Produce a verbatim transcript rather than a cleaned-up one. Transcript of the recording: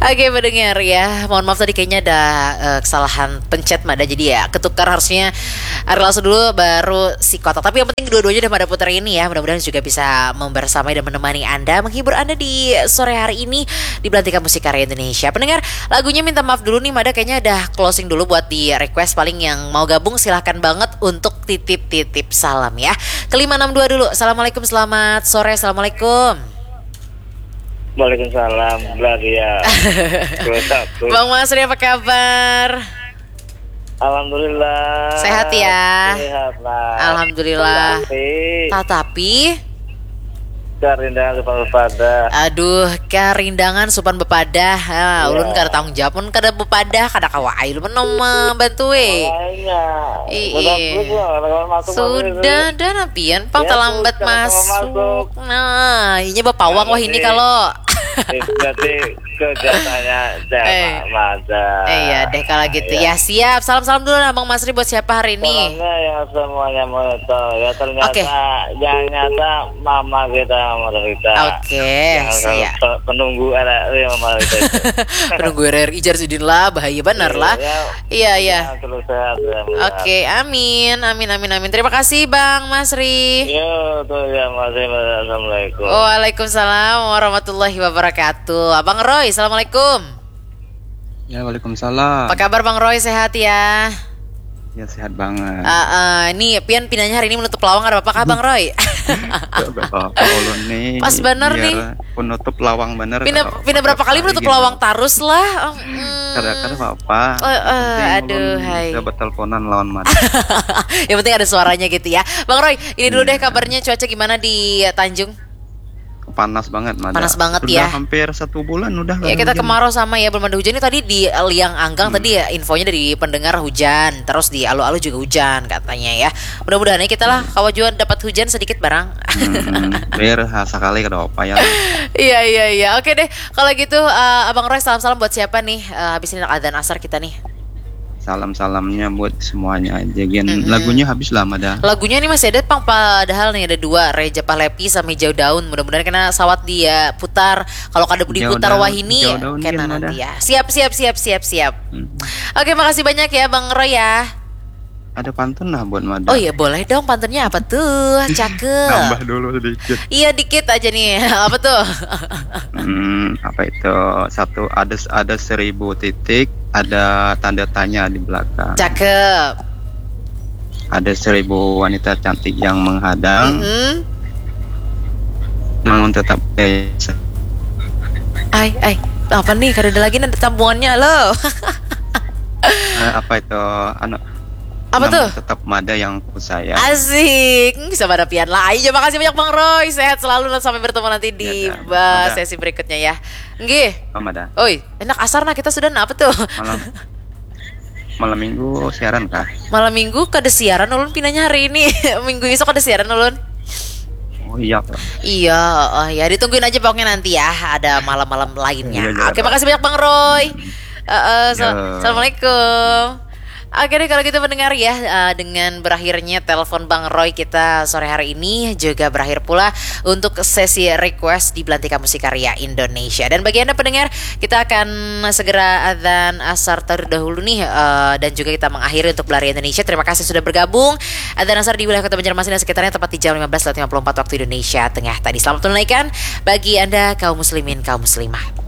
Oke, pendengar ya, mohon maaf tadi kayaknya ada uh, kesalahan pencet Mada, jadi ya ketukar harusnya Ari Lasso dulu baru si Kotak. Tapi yang penting dua-duanya udah Mada putar ini ya, mudah-mudahan juga bisa membersamai dan menemani Anda, menghibur Anda di sore hari ini di Belantika Musik Karya Indonesia. Pendengar, lagunya minta maaf dulu nih Mada, kayaknya ada closing dulu buat di request, paling yang mau gabung silahkan banget untuk titip-titip salam ya. Ke lima enam dua dulu. Assalamualaikum, selamat sore. Assalamualaikum. Waalaikumsalam, Bladia. Bang Masri, apa kabar? Alhamdulillah. Sehat ya? Sehat lah. Alhamdulillah. Tapi, Tatapi karindangan supan bepadah. Aduh, karindangan supan bepadah. Ha, Iya. Ulun kada tanggung jawab, mun kada bepadah, kada kawa ai ulun membantu eh. Makanya. Ih, Sudah ih. terus lah, kalau masuk Sudah, masuk. dah napian pang Ya, terlambat sudah, kalau masuk. masuk. Nah, inya bapawang wah ini Berarti- kalau. Itu nanti kerjanya Eh. Mada. Eh, iya deh kalau gitu ya. Siap. Salam-salam dulu Abang Masri buat siapa hari ini? Salamnya ya semuanya monitor ya, ternyata Oke. Yang nyata mama kita, mama kita. Oke, Yang siap. pe- penunggu R R I mama kita itu. Penunggu R R I Jarsudin lah, bahaya benar lah. Iya, Iya, iya. Yang terus sehat ya. Mada. Oke, amin, amin, amin, amin. Terima kasih Bang Masri. Ya, tuh ya, masih assalamualaikum. Waalaikumsalam warahmatullahi wabarakatuh. Abang Roy, assalamualaikum. Ya, waalaikumsalam. Apa kabar Bang Roy? Sehat ya? Ya, sehat banget. Ah, ah, ini pian pinanya hari ini menutup lawang, ada apa kah Bang Roy? Gak apa-apa ulun nih. Pas bener Biar nih. Penutup lawang bener. Pindah kada pindah apa-apa berapa kali lagi menutup gitu. Lawang tarus lah. Oh, mm. Kada kada apa-apa. Eh, eh, Penting aduh, ulun hai. Bisa berteleponan lawan Mada. Yang penting ada suaranya gitu ya. Bang Roy, ini dulu deh Iya. Kabarnya cuaca gimana di Tanjung? Panas banget, Mada. Panas banget, Sudah ya. Hampir satu bulan udah. Ya, kita kemarau sama ya, belum ada hujan. Ini tadi di Liang Anggang tadi ya, infonya dari pendengar hujan, terus di Alu-Alu juga hujan katanya ya. Mudah-mudahan ya kita lah kawa jua dapat hujan sedikit barang. Hmm, biar ha, sekali kada apa ya. Iya, iya, iya. Oke deh, kalau gitu eh, Abang Roy, salam-salam buat siapa nih? Eh, habis ini nak adzan asar kita nih. Salam-salamnya buat semuanya aja. Gen. Lagunya habis lah, Mada. Lagunya ini masih ada pang, padahal nih ada dua, Reja Pahlepi sama Hijau Daun. Mudah-mudahan kena sawat dia putar. Kalau kada diputar wah ini kena nanti ya. Siap, siap, siap, siap, siap. Hmm. Oke, makasih banyak ya Bang Roy ya. Ada pantun lah buat Mada. Oh iya, boleh dong, pantunnya apa tuh? Cakep. Tambah dulu sedikit. Iya, dikit aja nih. Apa tuh? Hmm, apa itu? Satu, ada ada seribu titik, ada tanda tanya di belakang. Cakep. Ada seribu wanita cantik yang menghadang. Mm-mm. Namun tetap eh, Ai, ai, apa nih? Kada ada lagi nada tampungannya, lo. Eh, apa itu? Anu, Apa namun tuh? Tetap Mada yang ku sayang. Asik, bisa pada pian lah. Ayo, makasih banyak Bang Roy. Sehat selalu dan sampai bertemu nanti di Ya, dah. ba- Mada. Sesi berikutnya ya. Nggih. Oh, Mada. Oi, enak asar nah kita sudah nah, apa tuh? Malam malam minggu siaran kah? Malam minggu kada siaran ulun pinanya hari ini. Minggu esok kada siaran ulun. Oh iya, Pak. Iya, oh ya, ditungguin aja pokoknya nanti ya, ada malam-malam lainnya. Iya, iya, Oke, Pak. Makasih banyak, Bang Roy. Eh, eh, so- Ya. Assalamualaikum. Oke deh, kalau gitu pendengar ya, eh, dengan berakhirnya telepon Bang Roy kita sore hari ini juga berakhir pula untuk sesi request di Belantika Musik Karya Indonesia. Dan bagi Anda pendengar, kita akan segera adzan asar terlebih dahulu nih, eh, dan juga kita mengakhiri untuk Belari Indonesia. Terima kasih sudah bergabung. Adzan asar di wilayah Kota Banjarmasin dan sekitarnya tepat di jam lima belas lewat lima puluh empat waktu Indonesia Tengah tadi. Selamat menunaikan bagi Anda kaum muslimin, kaum muslimah.